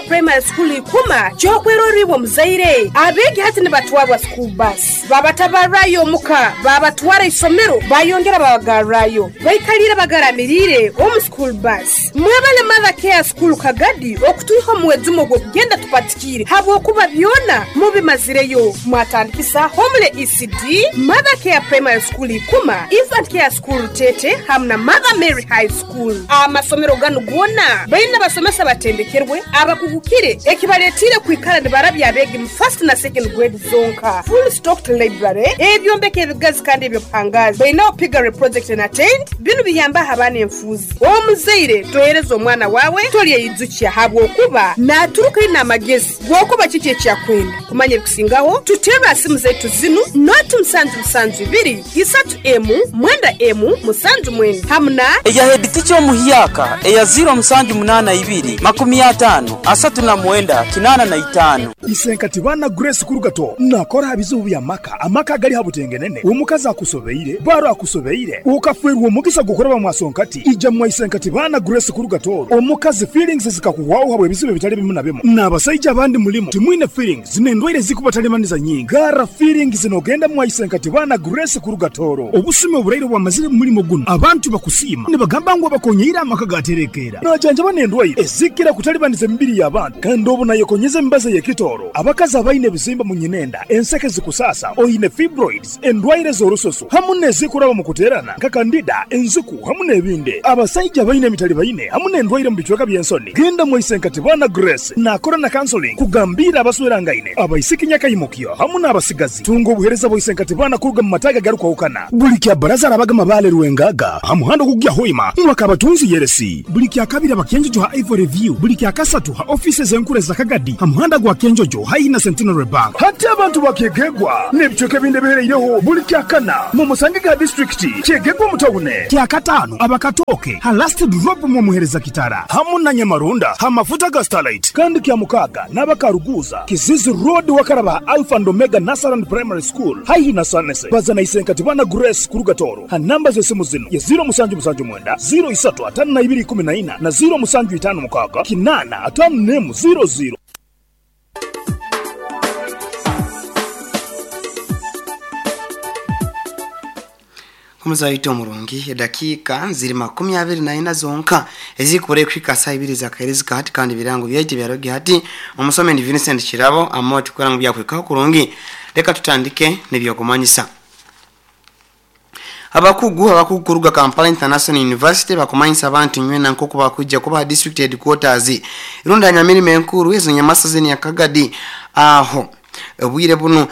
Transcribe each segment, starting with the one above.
Primary School Ikuma ky'okwerorra iwe omuzaire. Abeegi hati nibatwarwa school bus. Babatabarrayo omuka, babatwara isomero, bayongera babagarrayo. Baikaliire bagaramiriire omu school bus. Mwebale Mother Care School Kagadi okutwiha omu mwejumo gw'okugenda tupatikiire habwokuba byona mubimazireyo. Mwatandikisa Homely ECD, Mother Care Primary School Ikuma, Infant Care School Rutete hamu na Mother Mary High School. Amasomero ganu goona baine abasomesa abatendekerwe, abakugukire ekibaletiire kwikara nibarabya abeegi mu first na second grade zonka. Full stocked library, ebyombeko ebigazi kandi eby'obuhangaazi. Bainaho piggery project and attained. Binu biyambaho abaana enfuuzi. Omuzaire tohereza omwana waawe tolyeyijukya habwokuba naaturuka aine amagezi g'okuba kiki eki akwenda. Kumanya ebikusingaho, tuterre ha simu zaitu zinu, noti musanju musanju ibiri, isatu emu, mwenda emu, musanju mwenda hamu na. Eya headteacher omuhyaka eya ziiro musanju munaana ibiri, makumi ataano, asatu na mwenda, kinaana na itaano. Isenkati baana Grace Kurugato nakora aha bizibu by'amaka, amaka agali ha butengenene, omukazi akusobeire, baro akusobeire, okafeerwa omugisa gw'okuraba mwasonkati, ija mwa Isenkati baana Grace Kurugato, omukazi feelings zikakuhwaho habw'ebizibu ebitali bimu na bimu, n'abasaija abandi mulimu timwine feelings n'endwaire ezikubatalibaniza nyingi, garra feelings n'ogenda mwa Isenkati baana Grace Kurugatoro. Obusumi oburaire obwamazire mu mulimo gunu, abantu bakusiima nibagamba ngu abakonyeire amaka gaterekeera. Najanjaba n'endwaire ezikira kutalibaniza emibiri y'abantu kandi obu nayekonyeza emibazi ey'ekitooro. Abakazi abaine ebizimba mu nyinenda, enseke zikusaasa, oine fibroids, endwaire z'orususu hamu n'ezikuraba mu kuteerana nka kandida, enziku hamu n'ebindi. Abasaija abaine emitalibaine hamu n'endwaire mu bicweka by'ensoni, genda mwaise Nkatibana Grace naakora na counseling kugambiira abaswerangaine, abaisiki nyakaimukyo hamu n'abasigazi. Tunga obuheereza bwa Isenkatibana kuruga mu mataagi agarukwahukana. Buli kya Baraza arabaga Mabaale Rwengaga ha muhanda ogukugya Hoima mwaka Abatunzi Yeresi. Buli kya Kabiri aba Kyenjojo ha Ivory View. Buli kya Kasatu ha ofiisi ez'enkuru eza Kagadi ha muhanda gwa Kyenjojo haihi na Centenary Bank. Hati abantu ba Kyegegwa n'ebicweka ebindi ebihereireho buli kya Kana mu musange ga disiturikiti Kyegegwa omu tawune. Kya Kataano aba Katooke ha Last Drop mw'omuhereza Kitara hamu na Nyamarunda ha mafuta ga Starlight. Kandi kya Mukaaga n'aba Karuguuza, Kizizi Road wakaraba ha Alpha and Omega Nursery and Primary School haihi na Sanese. Baza na Isenkatibana Grace kuruga Tooro ha namba z'esimu zinu ye ziiro musanju musanju mwenda, ziiro isatu ataano na ibiri ikumi na ina na ziiro musanju itaano mukaaga kinaana ataano n'emu ziiro ziiro. Omuzaito omurungi, edakiika ziri 24 zonka ezikubura ekuhika saaha ibiri ezakaherezika hati kandi ebirango byaitu ebyarogi hati omusomi ndi Vincent Kirabo Amooti kurora ngu byakuhikaho kurungi. Leka tutandike n'ebyokumanyisa. Abakugu abakugu kuruga Kampala International University bakumanyisa abantu nywena nkoku bakwija kuba ha district headquarters rundi ha nyamirimo enkuru ezo nyamasaza eni ya Kagadi aho obwire bunu.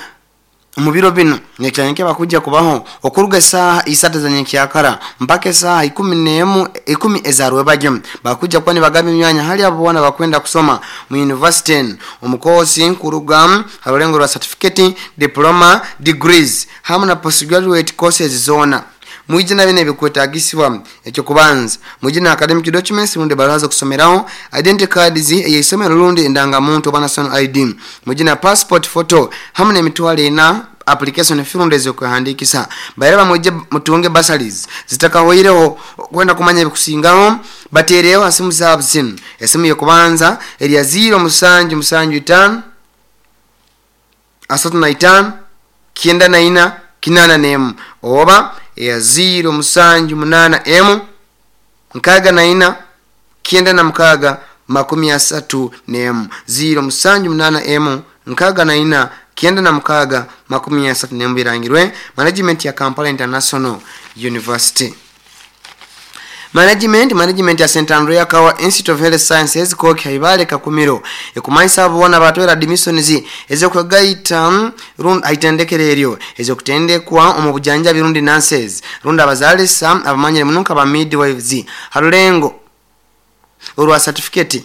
Omu biro binu, nyenkya bakwija kubaho okuruga esaaha isatu eza nyenkyakara mpaka esaaha ikumi n'emu ikumi eza rwebagyo. Bakwija kuba nibagaba emyanya hali abo boona abakwenda kusoma mu yunivasite enu omu koosi kuruga ha rulengo rwa satifiketi, diploma, degrees hamu na postgraduate courses zoona. Mwije na binu ebikwetagisibwa, Eky'okubanza, mwije na academic documents rundi ebaruha z'okusomeraho, identity cards ey'eisomero rundi endangamuntu oba national ID. Mwije na passport photo hamu n'emitwaro ena application fee rundi ez'okwehandiikisa. Bairaba mwije mutunge bursaries zitakahoireho. Okwenda kumanya ebikusingaho, bateereho ha simu zaabu zinu. Esimu y'okubanza eri ya ziiro musanju musanju itaano, asatu na itaano, kyenda na ina, kinaana n'emu oba eya ziiro musanju munaana emu, nkaaga na ina, kyenda na mukaaga, 31. 0781 64 96 31 birangirwe management ya Kampala International University. Management Management ya St Andrea Kawa Institute of Health Sciences Koki Haibale Kakumiro ekumanyisa abo boona abatwera admissions ez'okwegaita rundi haitendekero eryo ez'okutendekwa omu bujanjabi rundi nurses rundi abazaalisa abamanyire muno nka ba midwives ha rulengo orwa certificate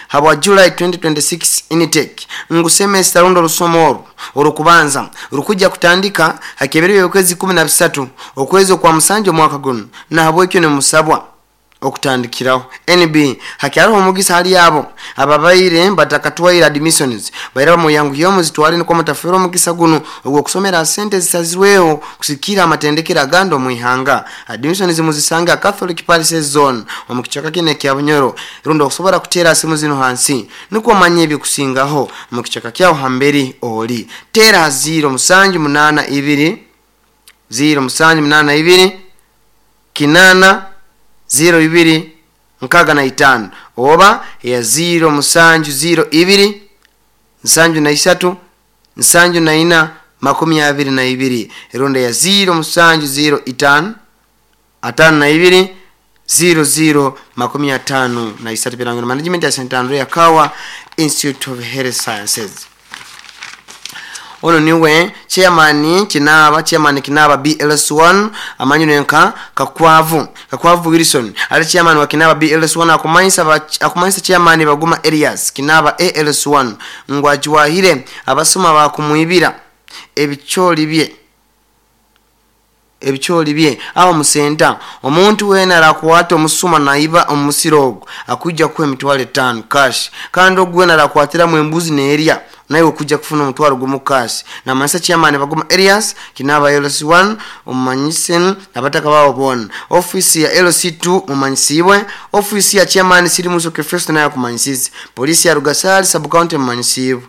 habwa July 2026 intake ngu semester rundi orusomo oru orukubanza rukujja kutandika ha kebero by'okwezi 13 okwezi okwa musanju omwaka gunu nahabwekyo nimusabwa Okutandikiraho NB hakyariho omugisa hali abo ababaire batakatwaire admissions baira bamuyanguyeho muzitwale nukwo mutafeerwa omugisa guno ogw'okusomera sente zisazirweho kusikira amatendekero agandi omu ihanga. Admissions muzisanga Catholic Parish Zone omu kicweka kinu ekya Bunyoro, rundi okusobora kuteera simu zino hansi nukwo omanye ebikusingaho omu kicweka kyaho hamberi oli. Teera ha 0782 0782 8 02 65 oba ya 0702 73 74 22 eronda ya 0705 52 00 53 birango management ya St Andrea Kawa Institute of Health Sciences. Ono niwe chairman Kinaba, chairman Kinaba BLS1 amanyino nka Kakwavu Wilson ali chairman wa Kinaba BLS1 akumanyisa chairman Baguma Elias Kinaba ALS1 ngwajwahire abasoma bakumwibira ebicholi bye aho musenta. Omuntu wena arakwata omusuma naiba omusiro ogwo akujja kuwa emitwalo 5 cash, kandi ogwo wena arakwatira mu embuzi neerya naye okujja kufuna omutwalo gumu cash. Namanyisa chairman Baguma Elias Kinaba LC1 omumanyise abataka baabo bona. Ofisi ya LC2 mumanyisibwe, ofisi ya chairman Sirimusoke Festo naye akumanyisize, polisi ya Rugasari sub county mumanyisibwe.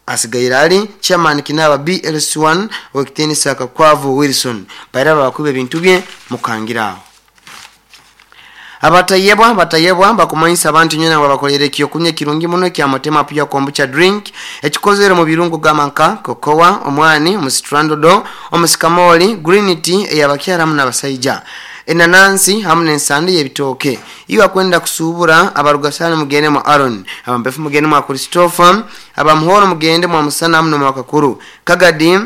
Asigaire ali chairman Kinaba BLS1 wekitenisa Kakwavu Wilson baira bakuba ebintu bye mukangiraho. Abatayebwa bakumanyisa abantu nyena babakolera ekyokunywa kirungi muno kya Mutema pia kombucha drink ekikozere mu birungo gamanka kokowa, omwani, omusitrandodo, omusikamoli, green tea eyabakyala hamu n'abasaija, enanansi hamu n'ensande y'ebitooke. Iyo akwenda kusubura abarugasana mugende mwa Aaron, abampefu mugende mwa Christopher, abamuhoro mugende mwa Musana hamu n'omwa Kakuru Kagadi.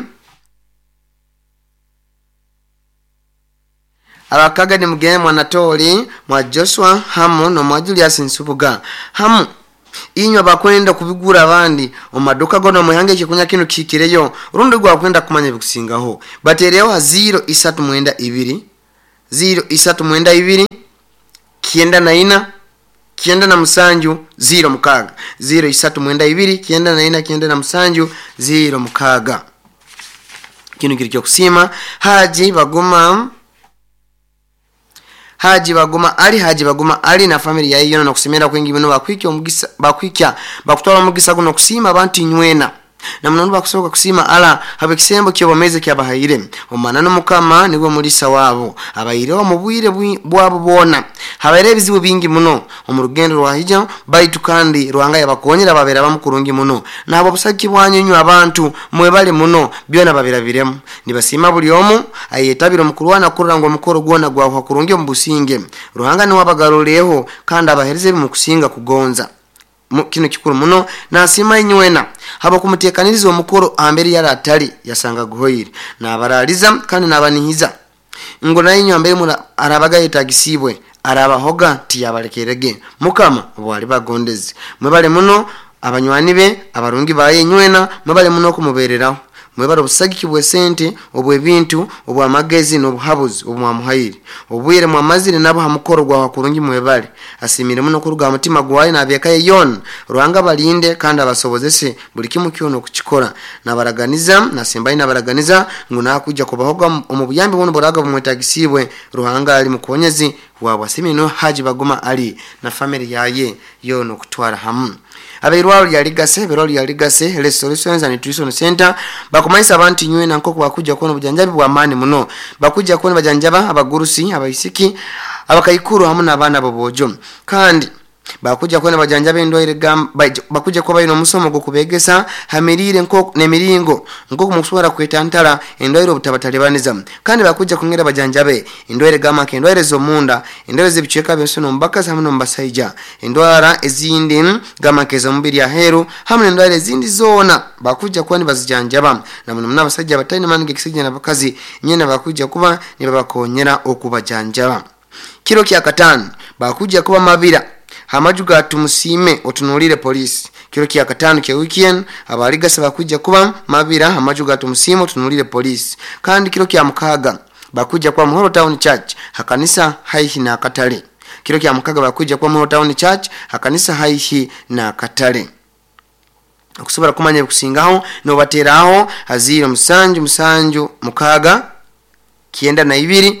Abakagadi mugende mwa Natoli, mwa Joshua hamu no mwa Julius Nsubuga. Hamu inywa bakwenda kubigura abandi omaduka gono muyange ekikunya kino kikireyo rundi gwa kwenda kumanya bikusingaho. Batereho 0392 0392 94 97 06 0392 94 97 06. Kino kiri kyokusima Haji Baguma Ali na family ya yona nokusemera kwingi bino bakwikya omugisa bakwikya bakutwala omugisa guno kusima abantu nywena na munono bakusoboka kusima ala habe kisembo kyobameze kyabahaire omanano mukama niwe mulisa wabo abaire mu bwire bwabo bona habaire ebizibu bingi muno omurugendo rwahija baitu kandi Rwanga yabakonyera babera bamukurungi muno nabo busaki bwanyu abantu mwebale muno byona babirabiremu nibasima buli omu ayetabira omukurwana kurra ngo omukoro gwona gwaho kurungi omubusinge Ruhanga niwe abagaruleho kandi abahereze mu kusinga kugonza. Kino kikuru muno nasima inywena haba kumutekaniriza omukoro ambere yaratali yasanga guhoire nabaraliza kandi nabanihiza ngo nayo ambere mura arabaga yetagisibwe arabahoga tiyabalekerege mukama bwali bagondezi mwebale muno abanywani be abarungi baye nywena mwebale muno kumubereraho mwebale obusagiki bwesente obwebintu obwamagezi n'obuhabuzi obwamuhaire obwire mwamazire nabo hamukoro gwa kurungi mwebale asimire muno kuruga mutima gwaye nabyekaye yona Ruhanga balinde kandi abasobozese buli kimu kyono kukikora nabaraganiza nasimbaye nabaraganiza ngo nakuja kubahoga omu buyambi buno buraga bumwetagisibwe Ruhanga ali mukonyezi wabwa simino Haji Baguma Ali na family yaye yono kutwara hamu. Abeirwalo lya Ligase, berwalo lya Ligase Health Solutions and Nutrition Center bakumanyisa abantu nywena nkoko bakuja kuona bujanjabi bwa amani muno bakuja kuona bajanjaba abagurusi abaisiki abakaikuru hamu n'abaana bobojo kandi bakuja kuona bajanjaba endwaire bakuja kuba ino omusomo gwo kubegesa hamirire nko nemiringo nko kumusobora kwetantala endwaire obutabatalibaniza kandi bakuja kungera bajanjabe endwaire gama ke endwaire z'omunda endwaire z'ebicweka by'ensono mbakazi hamu n'omubasaija endwara ezindi gama ke z'omubiri aheru hamu n'endwaire ezindi zona bakuja kuba nibazijanjaba na muno n'abasajja bataine maani g'ekisajja n'abakazi nyena bakuja kuba nibabakonyera okubajanjaba. Kiro kya katano bakuja kuba mabira hamajuga tumusime otunulire polisi. Kiro kya katano kya weekend abaligasa bakuja kuba mabira hamajuga tumusime otunulire polisi. Kandi kiro kya mukaga bakuja kwa Muhoro Town Church hakanisa haihi na katale. Kiro kya mukaga bakwija kuba mu Town Church hakanisa haihi na katale. Okusobola kumanya ebikusingaho nobateraho ha 077 6 92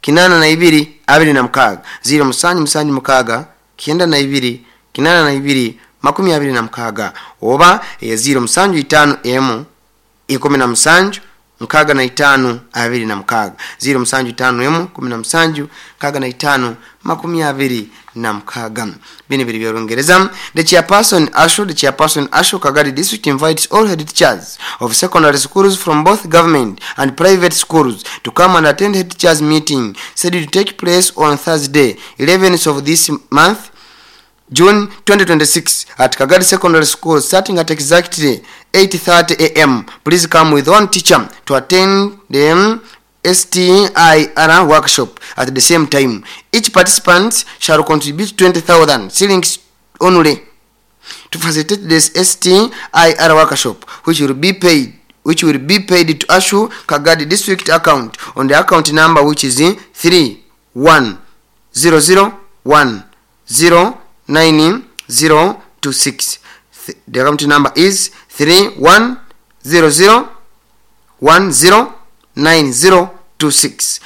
82 26 077 6 92 82 26 oba 075 M 17 65 26 075 M 17 65 26. Bino biri by'Olungereza. The chairperson ASHU Kagadi District invites all head teachers of secondary schools from both government and private schools to come and attend head teachers meeting said to take place on Thursday 11th of this month, June 2026, at Kagadi Secondary School, starting at exactly 8:30 a.m. Please come with one teacher to attend the STIR workshop at the same time. Each participant shall contribute 20,000 shillings only to facilitate this STIR workshop, which will be paid to ASHU Kagadi District account on the account number, which is 3100109026. The account number is 3100109026.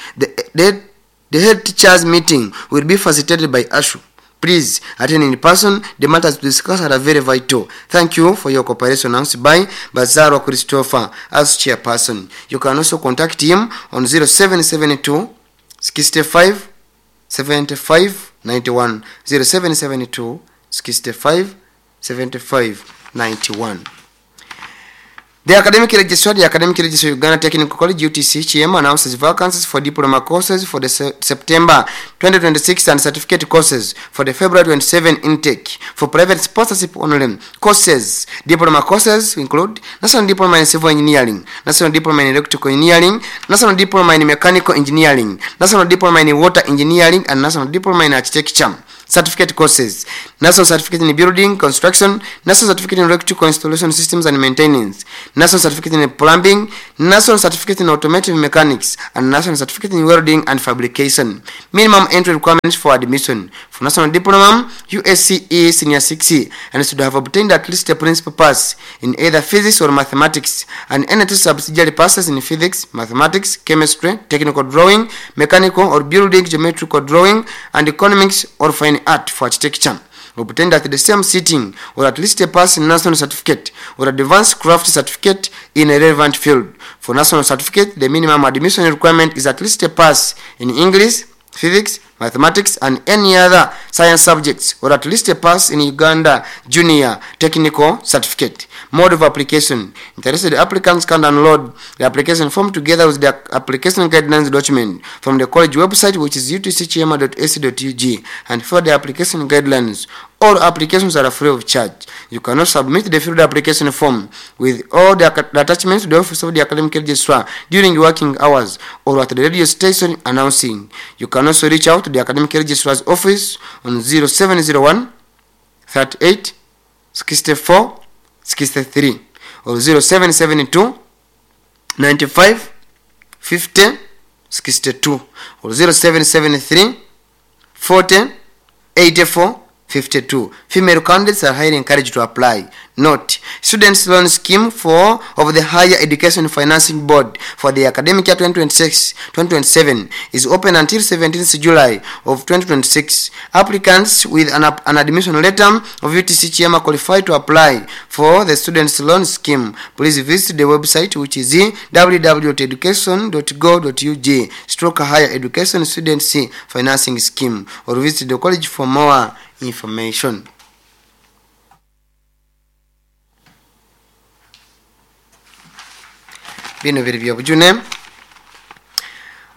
The head teachers meeting will be facilitated by ASHU. Please attend in person. The matters discussed are very vital. Thank you for your cooperation. Announced by Bazarwa Christopher as chairperson. You can also contact him on 0772 65 75 91, 0772 65 75 91. The academic registrar, Uganda Technical College, UTC Kyema, announces vacancies for diploma courses for the September 2026 and certificate courses for the February 27 intake for private sponsorship only. Courses: diploma courses include National Diploma in Civil Engineering, National Diploma in Electrical Engineering, National Diploma in Mechanical Engineering, National Diploma in Water Engineering, and National Diploma in Architecture. Certificate courses: National Certificate in Building Construction, National Certificate in Electrical Installation Systems and Maintenance, National Certificate in Plumbing, National Certificate in Automotive Mechanics, and National Certificate in Welding and Fabrication. Minimum entry requirements for admission: for National Diploma, USCE Senior 6 and should have obtained at least a principal pass in either physics or mathematics and any two subsidiary passes in physics, mathematics, chemistry, technical drawing, mechanical or building geometrical drawing, and economics or fine art for architecture obtained at the same sitting, or at least a pass in national certificate or advanced craft certificate in a relevant field. For national certificate, the minimum admission requirement is at least a pass in English, physics, mathematics, and any other science subjects, or at least a pass in Uganda Junior Technical Certificate. Mode of application: interested applicants can download the application form together with the application guidelines document from the college website, which is utckyema.ac.ug, and for the application guidelines. All applications are free of charge. You cannot submit the filled application form with all the attachments to the office of the academic registrar during working hours or at the radio station announcing. You can also reach out to the academic registrar's office on 0701 38 64 63 or 0772 95 50 62 or 0773 40 84 52. Female candidates are highly encouraged to apply. Note: Students Loan Scheme for of the Higher Education Financing Board for the academic year 2026-2027 is open until 17th July of 2026. Applicants with an admission letter of UTC Kyema qualify to apply for the Students Loan Scheme. Please visit the website, which is www.education.go.ug/higher education students financing scheme, or visit the college for more information. Bino biri byobujune.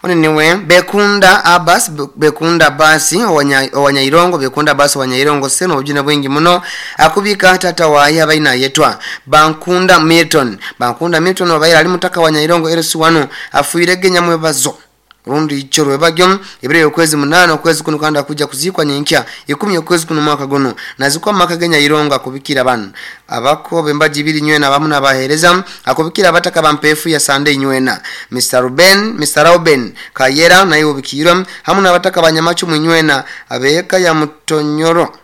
Ono niwe Bekunda Abbas, Bekunda Abbas Owanyairongo, Bekunda Abbas Owanyairongo seno. Obujune bwingi muno akubika tata waye abaina yetwa Bankunda Milton. Bankunda Milton wabaire ali mutaka Wanyairongo LC1, afuire genya mwebazo. Rundi icho rwebagyo ebiro okwezi 8 okwezi kuno kandi akuja kuzikwa nyenkya 10 okwezi kuno mwaka guno nazikwa maka genya ironga kubikira banu abako bembaji ibiri nywena bamu nabahereza akubikira abataka bampefu ya Sunday nywena Mr Ruben Mr Ruben Kayera naye ubikirwa hamu nabataka banyamachu munywena abeka ya mutonyoro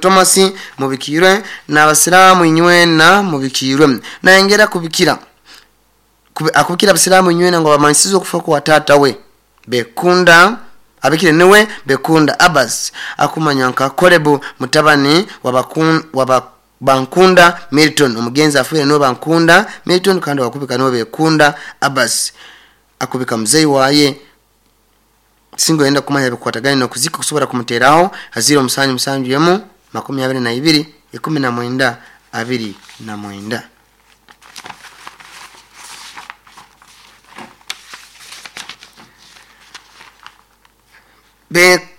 Thomas mubikirwe na abasilamu inywena mubikirwe naengera kubikira akubikira abasilamu inywena ngo bamansizo kufa kwa tata we Bekunda abikire niwe Bekunda Abbas akumanya nka Kolebu mutabani wa Bankunda Milton omugenzi afuire niwe Bankunda Milton kandi wakubika niwe Bekunda Abbas akubika mzei waye singo yenda kumanya bikwatagana no kuzika kusobora kumuteraho haziro musanyu musanju yemu 22 19 29.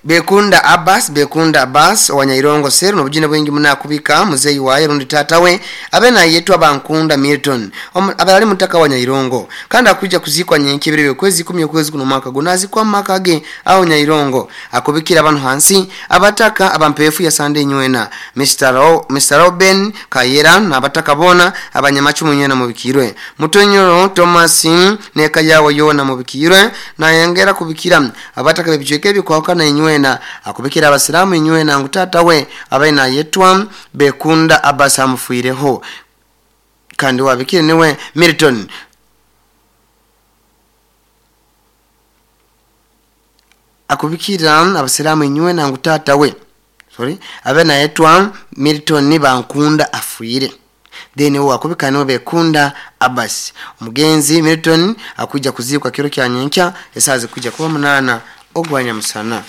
Bekunda Abbas wanyairongo seru nobujina bwingi munakubika muzeyi waye rundi tatawe abena yetwa Bankunda Milton abali mutaka wanyairongo kandi akuja kuzikwa nyenkebere kwezi 10 kwezi kuno mwaka gunazi kwa maka ge au nyairongo akubikira abantu hansi abataka abampefu ya Sunday nywena Mr Robin Kayera nabataka bona abanyamachumu nywena mubikirwe Mutonyoro Thomas neka yawo yona mubikirwe na yengera kubikira abataka bebicweke bikwa na inywena akubikira abasilamu inywena ngutata we abaina yetwa Bekunda Abbas amufuireho kandi wabikire niwe Milton akubikira abasilamu inywena ngutata we abaina yetwa Milton ni Bankunda afuire then wo akubika niwe Bekunda Abbas omugenzi Milton akuja kuzikwa kiro kya nyenkya esaze kuja kuba 8 ogwanya musana.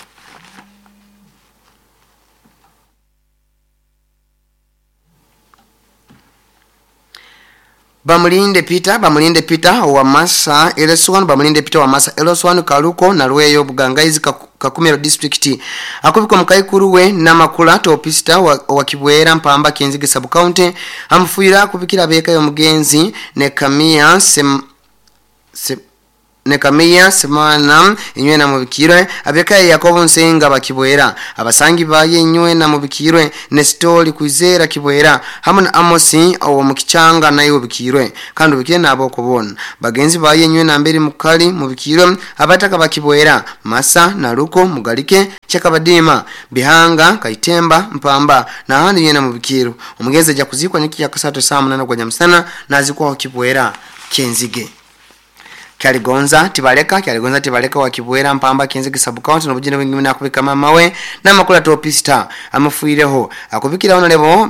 Bamulinde Peter wa Masa Eleswan Bamulinde Peter wa Masa Eleswan Kaluko na Lweyo Bugangaizi Kakumiro district akubiko mukaikuru we namakula topista wa Kibwera Mpamba Kenzige sub county amfuira kubikira beka yo mugenzi Nekamia Nekamia semana inywe na mubikirwe abeka Yakobo Nsenga bakibwera abasangi baye inywe na mubikirwe Nestori Kwizera Kibwera hamwe na Amosi awo mukichanga naye ubikirwe kandi ubikire nabo kubona bagenzi baye inywe na mbere mukali mubikirwe abataka bakibwera Masa na Ruko Mugalike Chakabadima Bihanga Kaitemba Mpamba na handi inywe na mubikirwe omugeze ja kuzikwa nyiki ya kasato saa 8 kwa nyamsana nazikwa Kibwera Kenzige. Kyaligonza Tibaleka wa Kibwera Mpamba Kenzige sub county nobujina bwingi nakubika mama we na makula topista amufuireho akubikira honorable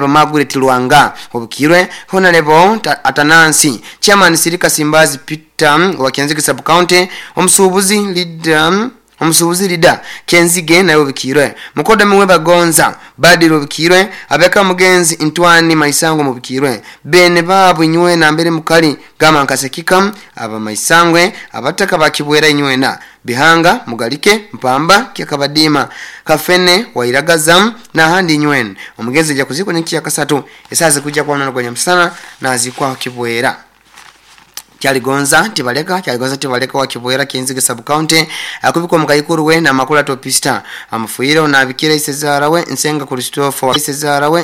Margaret Luanga obukirwe honorable Atanansi chairman Sirika Simbazi Peter wa Kenzige sub county omusubuzi leader Kenzige nayo bikirwe mukoda miwe Bagonza Badiro bikirwe abeka mugenzi Ntwani Maisango mubikirwe bene babu inywe na mbere mukali gama nkasekika aba Maisangwe abataka bakibwera inywe na Bihanga Mugalike Mpamba Kyakabadima Kafene Wairagaza na handi inywe omugezi ja kuzikwa nyiki ya kasatu esaze kuja kwa nana kwa msana na zikwa Kibwera. Kyaligonza Tibaleka wa Kibwera Kenzige sub county akubikwa mukaikuru we na makula topista amufuire na abikira isezara we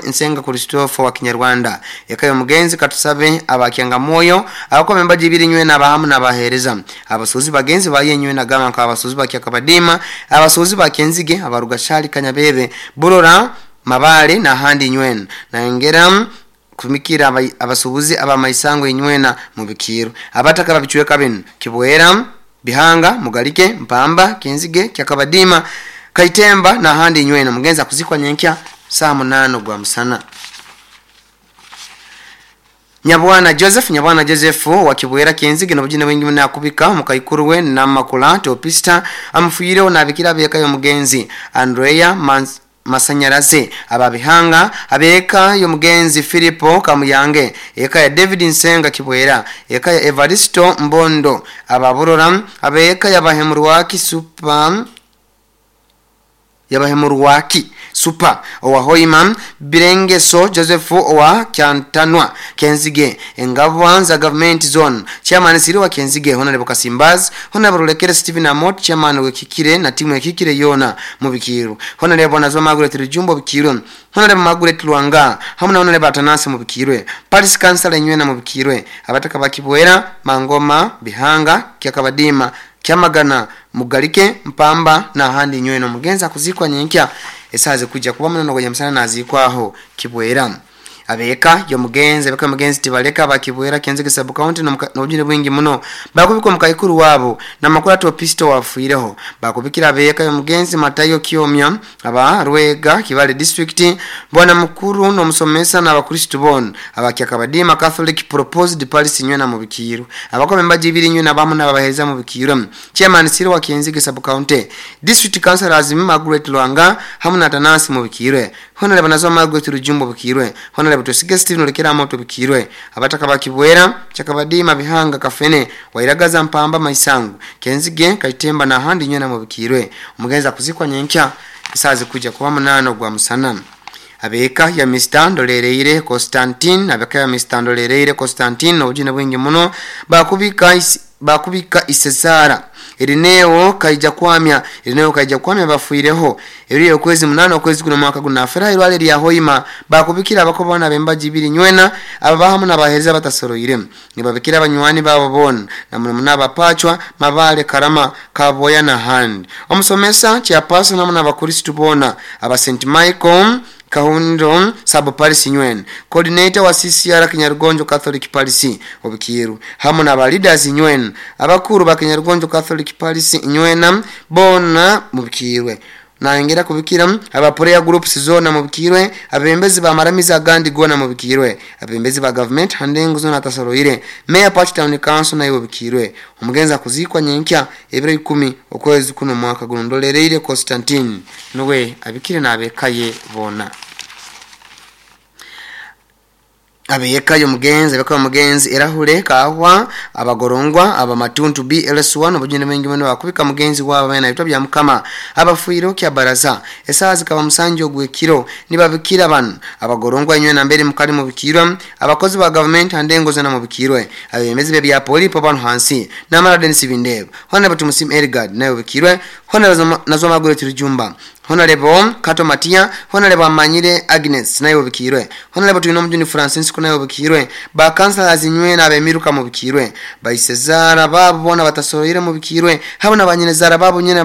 Nsenga Christopher wa Kinyarwanda yakayo mugenzi katusabe abakyanga moyo abako membaji ibiri nywe na bahamu na bahereza abasuzi bagenzi baye nywe na gama ka abasuzi bakyakabadima abasuzi bakenzige abarugashali kanyabebe burora mabale na handi nywe na ngera kumikira abasubuzi abamaisango inywena mubikiro abataka babichweka bino Kibwera Bihanga Mugalike Mpamba Kenzige Kyakabadima Kaitemba na handi inywena mugenza kuzikwa nyenkya saa 8 gwa musana. Nyabwana Joseph wa Kibwera Kenzige nobujina bwingi munakubika mukaikuru we na makula topista amfuireho nabikira beka yo mugenzi Andrea Masanyaraze ababihanga abeka yo mugenzi Filipo Kamuyange eka ya David Nsenga Kibwera eka ya Evaristo Mbondo ababurora abeka ya Bahemurwaki Super Yabahemurwaki Supa owa Hoima, Birengeso Joseph owa Kyantanwa Kenzige, Engabwa za Government Zone Chairman Siri wa Kenzige, Honorable Kasimbaz, Honorable Rulekere Stephen Amot Chairman wekikire na timu ekikire yona mu Bikiru, Honorable Nazwa Margaret Rujumbo Bikiru, Honorable Margaret Lwanga hamwe na Honorable Atanasi mu Bikirwe, Paris Council Nywena mu Bikirwe, abataka bakibwera Mangoma Bihanga Kyakabadima Kyamagana Mugalike Mpamba na handi nywena. Mugenza kuzikwa nyenkya esaze kujja kuba muno gonya musana nazikwaho Kibwera. Abeka yo mugenzi abeka mugenzi tibaleka bakibwera Kenzige sub county n'obujune bwingi muno bakubikwa mukayikuru wabo na makuru ato pisto wafuireho bakubikira abeka yo mugenzi Matayo Kiomya aba Rwega Kibale district bwana mukuru no musomesa na abakristo bon abakyakabadima Catholic proposed policy nywena mu Bikiru abakome mbaji ibiri nywena bamu n'abaheza mu Bikiru. Chairman Siri wa Kenzige sub county district councilors Margaret Lwanga hamwe na Tanasi mu Bikirwe, Honorable Nazwa Margaret Rujumbo Bikirwe, Honorable Tusige Stephen Olekera Moto Bikirwe, abataka bakibwera Kyakabadima Bihanga Kafene Wairagaza Mpamba Maisangu Kenzige Kaitemba na handi nywena mu Bikirwe. Umugenza kuzikwa nyenkya isazi kuja kuba 8 gwa musana. Abeka ya Mr. Ndolereire Constantine, abeka ya Mr. Ndolereire Constantine obujune bwingi muno bakubika isesara Irineo kaija kwamya Irineo kaija kwamya bafuireho eriyo kwezi 8 okwezi kuno mwaka guna afera irwale lya Hoima bakubikira abakobona bembaji ibiri nywena ababahamu nabahereza batasoroire nibabikira abanywani babo bona na muno abapachwa Mabale Karama Kaboya na hand omusomesa chapaso namuna abakristo bona aba St Michael Kahundo sub Paris Nywen coordinator wa CCR Kinyarugonjo Catholic Parish Obukiru hamwe na leaders Nywen abakuru ba Kinyarugonjo Catholic Parish Nywena bona mubikirwe naongera kubikira aba prayer groups zona mubikirwe abembezi ba maramiza gandi gona mubikirwe abembezi ba government handengo zona tasoroire mayor party town council nayo bikirwe. Umugenza kuzikwa nyenkya ebiro 10 okwezi kuno mwaka guno. Ndolereire Constantine nuwe abikire nabekaye bona. Abeyeka yo mugenzi abeka mugenzi erahure kahwa abagorongwa abamatuntu BLS1 obujune bengi muno bakubika mugenzi wabo bana bitwa bya mukama abafuiro kya baraza esazi kaba musanjo gwekiro nibabikira bano abagorongwa nywe na mbere mukali mu bikirwa abakozi ba government handengo zana mu bikirwe abemezi be bya polipo bano hansi namara Dennis Bindebo Honorable Tumusim Elgard nayo bikirwe Honorable Nazwa Margaret Rujumba Honorable Kato Matia, Honorable Amanyire Agnes nayo bikirwe, Honorable Tuino Mjuni Francis nayo bikirwe, ba councilors nywe na bemiruka mu bikirwe, ba Isezara babo bona batasoroire mu bikirwe, habo na banyinezara babo nyene.